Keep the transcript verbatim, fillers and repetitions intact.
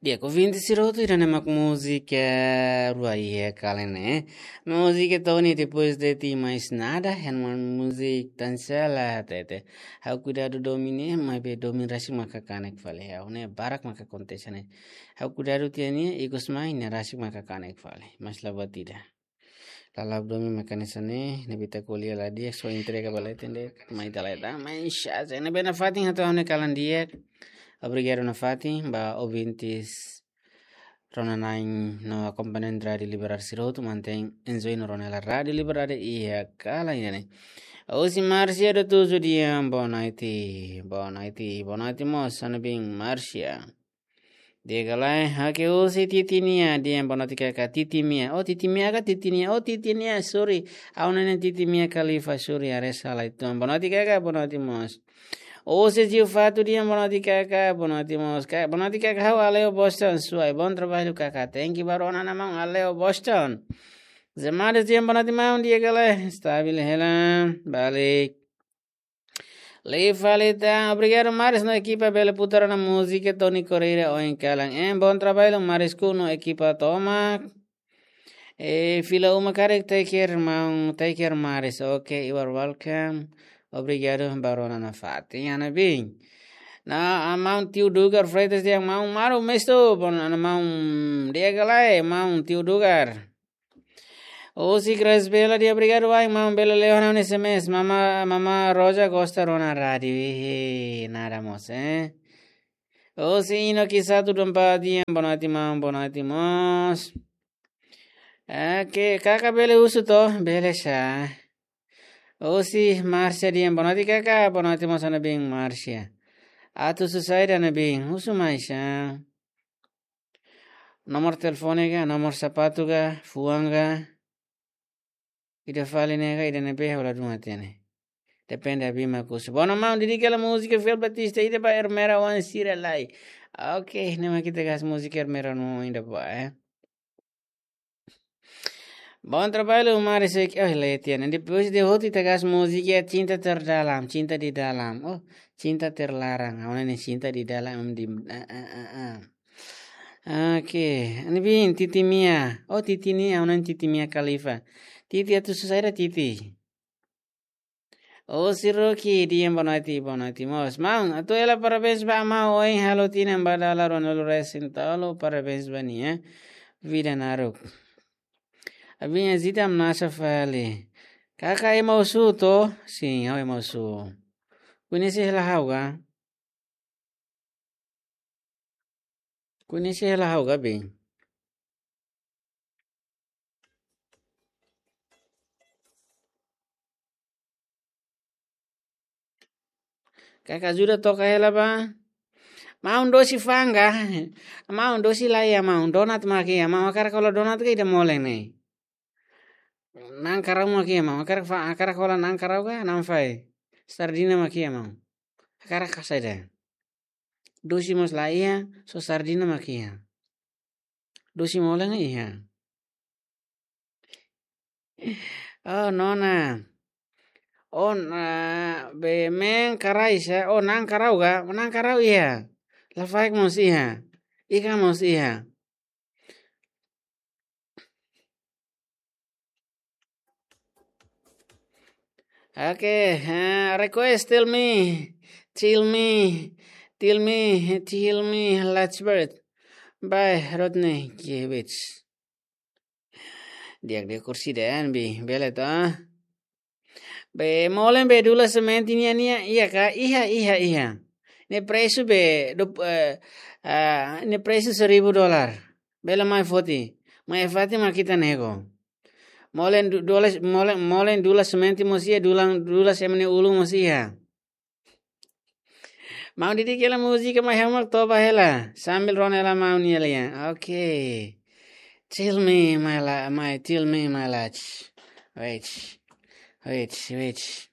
Di'ak, ouvinte sira hotu, ida-ne'e mak múzika rua iha kalan ne'e. Múzika Tony Depois de Ti Mais Nada, ha'u-nia múzika tansela tete. Ha'u kuidadu domin ne'e, maibé domin rasik maka kanek fali. Ha'u ne'e barak maka akontese ne'e. Ha'u kuidadu tiha nia, ikus mai ne'e rasik maka kanek fali. Mas la buat ida. Lala'ok domin maka hanesan ne'e, ne'ebé ita ko'alia la di'ak, só entrega ba leten de'it, mai ita la iha tan, mas, ah, ne'ebé nafatin hato'o ha'u-nia kalan di'ak. Obrigadu nafatin ba ouvintes rona-na'in no akompañante Rádiu Liberdade sira hotu, mantein enjoy no rona hela Rádiu Liberdade iha kalan ida-ne'e. Husi Márcia do Tuzu dehan boa noite, boa noite, boa noite mós, sá ne'ebé Márcia. Di'ak ka lae, oke, husi Titi Mia dehan boa noite kaka, Titi Mia. Oh, Titi Mia ka Titi Nia? Oh, Titi Nia, sorry. Ha'u-nia naran Titi Mia Khalifa, sorry, haree sala uitoan. Boa noite kaka, boa noite mós. Husi Gil Fato dehan boa noite kaka, boa noite mós. Ka, boa noite kaka, ha'u hale'u Boston, suai. Bom trabalho kaka. Thank you ba rona-na'in maun, hale'u Boston. Zemades dehan boa noite maun, di'ak ka lae, stabil hela, balik. Lei fali tan, obrigadu Maris no ekipa bele putar ona múzika Tony Correia ohin kalan. Em, bom trabalho Maris ku no ekipa tomak. E, fila uma karik, take care maun, take care Maris. Ok, you are welcome. Obrigadu ba rona nafatin, iha ne'ebé. No, ah, maun Tio Dugar Freitas dehan maun maru mestu, bon, ah, maun di'ak ka lae, maun Tio Dugar. Husi Grace Bela dehan obrigadu wa'in maun, bele lee ona S M S. Mama, Mama Roja gosta rona rádiu. Ih, nada mós, eh. Husi Ino Kisatu Dompa dehan boa noite maun, boa noite mós. Eh, ke kaka bele husu to, bele sá. Husi Márcia dehan boa noite kaka, boa noite mós, sá ne'ebé Márcia. Atu husu saida ne'ebé, husu mai sá. Nomor telefone ka, nomor sapatu ka, fuan ka. Ida fali ne'e ka, ida ne'ebé ha'u la dún hatene. Depende abima kusu. Bom, maun, dedika hela múzika fiel Batista ida ba Ermera oan sira lai. Ok, ne'e mak ita gás múzika Ermera no ida ba, eh. Bom trabalho, Maris, eh, oh, leten. Depois de hotu ita gás múzika Cinta Terdalam, Cinta di Dalam. Oh, Cinta Terlarang. Ha'u-nia ne'e Cinta di Dalam, di, ah, ah, ah, ah. Oke, ne'ebé Titi Mia. Oh, Titi Nia, ha'u-nia Titi Mia Khalifa. Titi atu husu saida Titi? Oh, si Rocky dehan boa noite, boa noite mós. Maun, atu hela parabéns ba maun ohin halo tinan ba dala ruanulu resin tolu, parabéns ba nia, eh. Vida naruk. Abin azita nasa fali. Kaka ema husu to? Sin, ha'u ema husu. Koñese hela ha'u ka? Koñese hela ha'u ka, be? Kaka ajuda toka hela ba. Maun, dosi fa'an ka? Maun, dosi la iha maun, donat mak iha maun, hakarak hola donat ka ida molen ne'e? Na'an karau mak iha maun, hakarak fa-, hakarak hola na'an karau ka, na'an fai? Sardina mak iha maun. Hakarak ka saida? Dosi mós la iha, só sardina mak iha. Dosi molen iha. Oh, nona. Oh, na, be men karai sa. Oh, na'an karau ka? Na'an karau iha. Lafaek mós iha. Ikan mós iha. Oke, eh, request Tell Me, Tell Me, Tell Me, Tell Me, Let's Bird by Rodney Kivitz. Di'ak, di'ak, kursi den, bi, bele to. Be, molen be dula semente nian, nian, iha ka? Iha, iha, iha. Ne'e presu be, du-, eh, ah, ne'e presu seribu dolar. Bele mai foti. Mai foti mak ita nego. Molen du-, dula, molen, molen dula semente mós iha, dula, dula semente ulun mós iha. Maun, dedika hela múzika mai ha'u mak toba hela. Sambil rona hela maun nia lian. Oke. Tell me my la-, my, tell me my life. Wait. Wait, wait.